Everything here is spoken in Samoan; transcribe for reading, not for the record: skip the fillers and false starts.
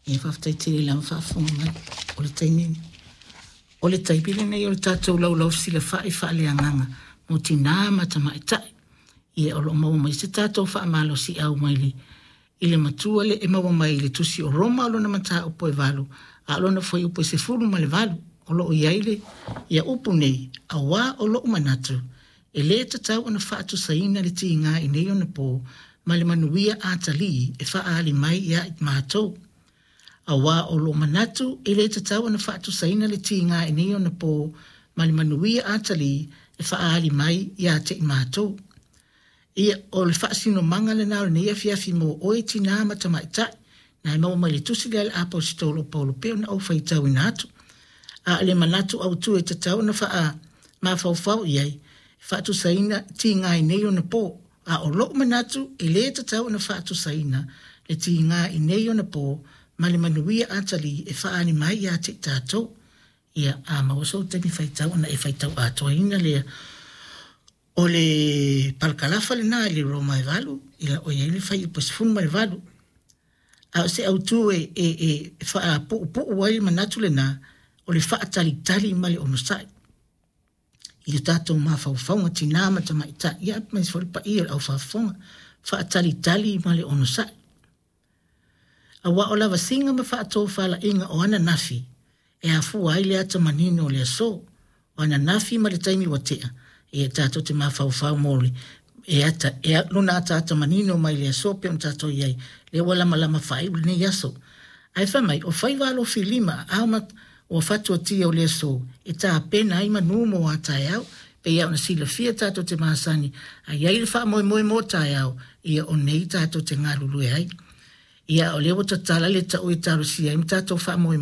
Ia faafetai tele lava faafofoga mai. O le taimi o le taimi lenei o le tatou laulau fesilafai faaleagaga mo tinā ma tamaitai. Ia o lo o maua mai se tatou faamalosiau mai le i le matua le e maua mai i le tusi o Roma lona mataupu e 8 a o lona fuaiupu e 18. O lo o i ai le ia upu nei, auā o lo'u manatu e lē tatau ona faatusaina le tiga i nei ona pō ma le manuia atalii e faaali mai ia i matou. Auā o lou manatu e lē tatau ona faatusaina le tiga i nei ona pō ma le manuia atalii e faaali mai ia te i matou. Ia, o le faasinomaga lena o lenei afiafi mo oe tinā ma tamaitai, na e maua mai le tusi lea a le Aposetolo o Paulo pei ona ou faitauina atu. A o le manatu autu e tatau ona faamafaufau i ai, faatusaina tiga i nei ona pō. A o lo'u manatu e lē tatau ona faatusaina le tiga i nei ona pō ma le manuia atalii e faaali mai ia te i tatou. Ia, a maua sou taimi faitau ona e faitau atoaina lea. O le palakalafa lena i le Roma e 8, ia o i ai le fuaiupu 18. A o se autū e, e, e faapuupuu ai le manatu lena, o le faatalitali ma le onosai i o tatou mafaufauga tinā ma tamaitai, ia aemaise foi le paia o le aufaafofoga, faatalitali ma le onosai. Aua o lavasiga ma faatofalaiga o ananafi e afua ai le ata manino o le aso. O ananafi ma le taimi ua tea, ia tatou te mafaufau mo le e ata, e lona ataata manino mai le aso pei ona tatou i ai, lea ua lamalama faaiu lenei aso. Ae fai mai, o faiva alofilima aao ma ua fatuatia o le aso e tapena ai manu mo a taeao. Pei lava ona silafia tatou te masani, a i ai le faamoemoe mo taeao, ia o nei tatou te galulue ai. Ia, o lea ua tatala le tau e talosia ai ma tatou faamoemoe.